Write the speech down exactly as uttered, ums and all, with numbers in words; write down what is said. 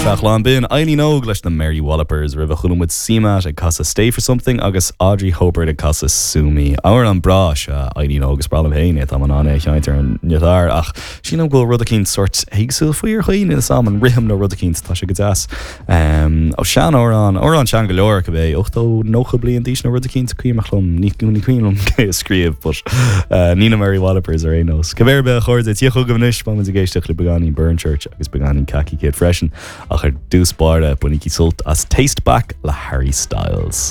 Seachlán b'in Eileen Óg leis na Mary Wallopers roimhe chuala muid CMAT ag casadh Stay for Something agus Audrey Hobert ag casadh Sue Me. Amhrán breá is ea Eileen Óg is breá liom féin é tá an é cheint ar an ngiotár ach sílim go bhfuil rud éicint sórt éagsúil faoi ar chaoi is am an rithim nó rud éicint tá sé go deas. Um, ó sean amhrán amhrán sean go leor go bé ochtó nócha bliain d'aois nó rud éicint cuimhin liom ní ní cuimhin liom cé a scríobh, but uh, ní na Mary Wallopers ar aon nós. Cibé a chairde tí chugaibh anois beidh muid ag éisteacht le beagáinín Burnchurch agus beagáinín Khaki Kid freisin ach ar dtús báire bainigí sult as Taste Back le Harry Styles.